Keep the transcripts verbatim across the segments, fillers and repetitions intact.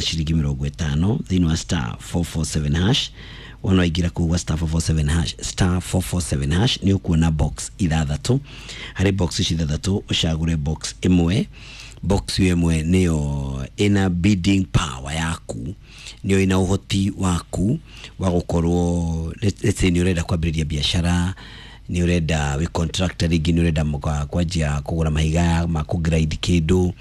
ũkũhũthĩra ciringi mĩrongo ĩtano thĩinĩ wa star four four seven hash. Wona waingĩra kũu gwa star four four seven hash, star four four seven hash, nĩ ũkuona box ithathatũ. Harĩ box ici ithathatũ, ũcagũre box ĩmwe. Box ĩyo ĩmwe nĩyo ĩna bidding power yaku, nĩyo ĩna ũhoti waku wa gũkorwo, let's let's say nĩ ũrenda kwambĩrĩria biacara, nĩ ũrenda wĩ contractor, rĩngĩ nĩ ũrenda mũka- kwanjia kũgũra mahiga ma kũgrade kĩndũ.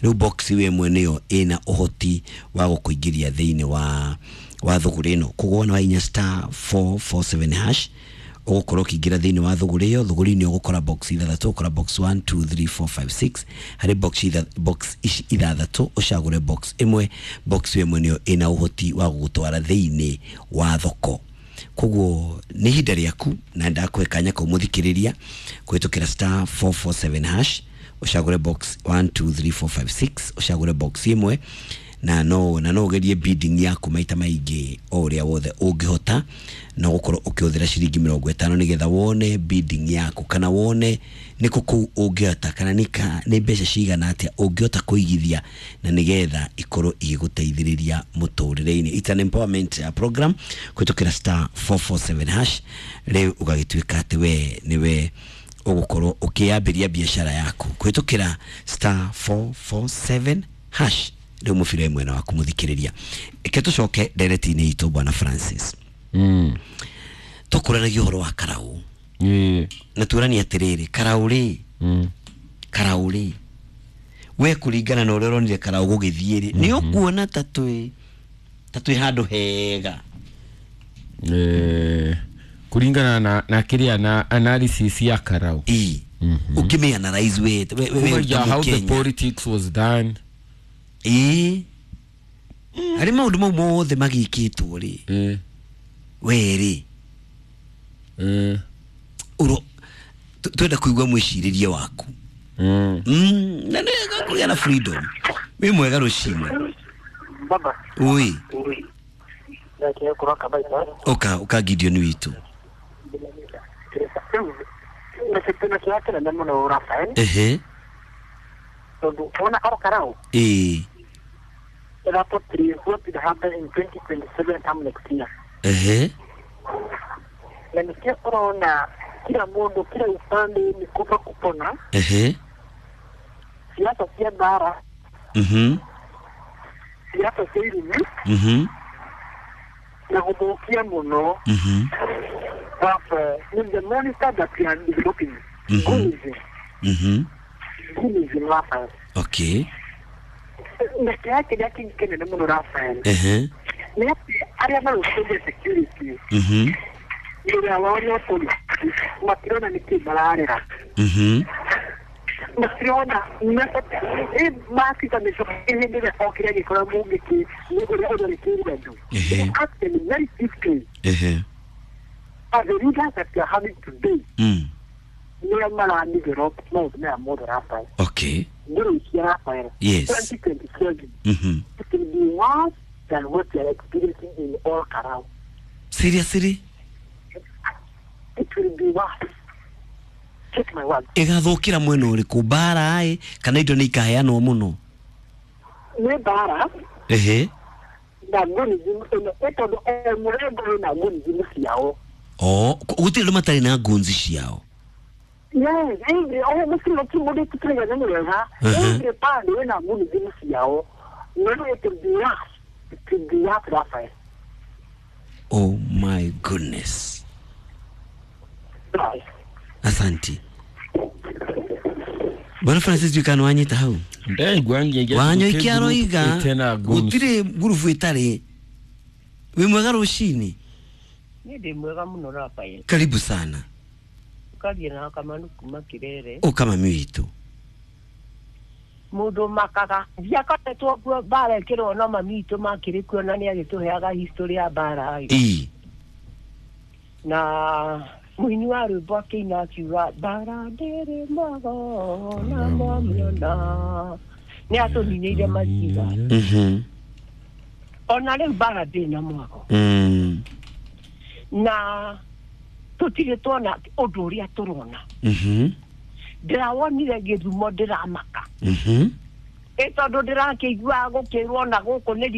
Rĩu box ĩyo ĩmwe nĩyo ĩna ũhoti wa gũkũingĩria thĩinĩ wa wa thũgũrĩ ĩno. Koguo wona wahihinya star four four seven hash, ũgũkorwo ũkĩingĩra thĩinĩ wa thũgũrĩ ĩyo. Thũgũrĩ-inĩ ũgũkora box ithathatũ, ũkora box one, two, three, four, five, six. Harĩ box itha, box ici ithathatũ, ũcagũre box ĩmwe. Box ĩyo ĩmwe nĩyo ĩna ũhoti wa gũgũtwara thĩinĩ wa thoko. Koguo nĩ ihinda rĩaku na ndakũhe kanya kau, mũthikĩrĩria, kũhĩtũkĩra star four four seven hash, ũcagũre box one, two, three, four, five, six, ũcagũre box ĩmwe, na no na no ũgerie bidding yaku maita maingĩ o ũrĩa wothe ũngĩhota, na ũgũkorwo ũkĩhũthĩra ciringi mĩrongo ĩtano nĩgetha wone bidding yaku, kana wone nĩ kũ kũu ũngĩhota, kana nĩ ka nĩ mbeca cigana atĩa ũngĩhota kũigithia na nĩgetha ikorwo igĩgũteithĩrĩria mũtũrĩre-inĩ. It's an empowerment uh, program kũhĩtũkĩra star four four seven hash. Rĩu ũgagĩtuĩka atĩ we nĩwe ũgũkorwo ũkĩambĩria biacara yaku kũhĩtũkĩra star four four seven hash. Rĩu mũbira wĩ mwena waku, mũthikĩrĩria. Reke tũcoke ndereti-inĩ itũ. Bwana Francis, Mm. tũkũranagia ũhoro wa karau Ĩĩ. na tuoranie atĩrĩrĩ, karau rĩ, Mm. karau rĩ, we kũringana na ũrĩa ũronire karau gũgĩthiĩ rĩ, nĩ ũkuona ta twĩ ta twĩ handũ hega? Eh, kũringana na na kĩrĩa na analysis ya karau, ĩ ũkĩmĩ analyze we we we Kumagia ta how the Mũkenya. politics was done. Ĩ, harĩ maũndũ mau mothe magĩkĩtwo rĩ, eh, we rĩ, eh, ũro tu- twenda kũigua mwĩcirĩrie waku. mm. Mm, na nĩ wega kũgĩa na freedom. Wĩ mwega rũcinĩ. Baba. Ui. Ndakĩhe kũroka baita. Ũka ũka, Gideon witũ. Rĩu na kĩrĩa kĩnene mũno, Rafael, Ehe. tondũ wona oro karau ĩ ĩra portray what will happen in twenty twenty-seven come next year, ehe na nĩkĩo ũrona kila mũndũ kila upande ni kufa kupona. Ehe Siasa cia mbara, mhm siasa cia irumi mhm na gũthũkia mũno. mhm Rafael, ni the monster that we are developing, Mhm. Goonism. mhm Goonism, Rafael. Okay Na kĩrĩa kĩrĩa kĩngĩ kĩnene mũno, Rafael, ehe nĩ atĩ arĩa marũgamĩrĩire security, mhm wĩra wao nĩ police, matirona nĩkĩ mararera. mhm Matirona maabitha mĩcoka hĩndĩ ĩrĩa okire agĩkora mũngĩki ũrĩa ũtharĩkĩire andũ. Ehe. Acting very swiftly ehe as the leaders that we are having today, mm nĩo maradevelop maũndũ maya mothe, Rafael. Okay Ngũrĩkia, Rafael, Yes. twenty twenty-seven, mhm it will be worse than what we are experiencing in all Karau. Seriously? It will be worse. Take my word. Ĩgathũkĩra mwena ũrĩkũ? Mbara ĩ kana indo nĩ ikaheanwo mũno? Nĩ mbara Ehe na goonism ĩno, ĩ tondũ o mũrengo wĩna goonism ciao. O gũtirĩ andũ matarĩ na ngunzi ciao? Yes, every o mũciĩ ti mũndũ tũtirega nĩ wega. Mhm. Every pande wĩna goonism ciao. No, it will be worse. It will be worse, Raphael. Oh my goodness. Right. Asanti, Bwana Francis. Ndikana wanyita hau. Ndaigua ngĩngĩ. Wanyoike aroiga ĩtena guns. Gũtirĩ ngurubu ĩtarĩ. Wĩ mwega rũcinĩ. Niĩ ndĩ mwega mũno, Rafael. Karibu sana. Ũkaria na Kamanu kuma Kĩrere. Ũka, mami witũ. Mũndũ makaga ndiakoretwo kuo mbara ĩkĩrwo, no mami witũ makĩrĩ kuo na nĩ agĩtũheaga history ya mbara ĩ. Ĩ Na mũini wa rwĩmbo akĩina akiuga mbara ndĩrĩ mwago na mwamĩona nĩ atũninĩire maciga. Mhm Ona rĩu mbara ndĩ na mwago, mm na tũtirĩ tuona ũndũ ũrĩa tũrona. Mhm Ndĩrawonire gĩthumo, ndĩramaka, mhm ĩ tondũ ndĩrakĩigua gũkĩrwo na gũkũ nĩ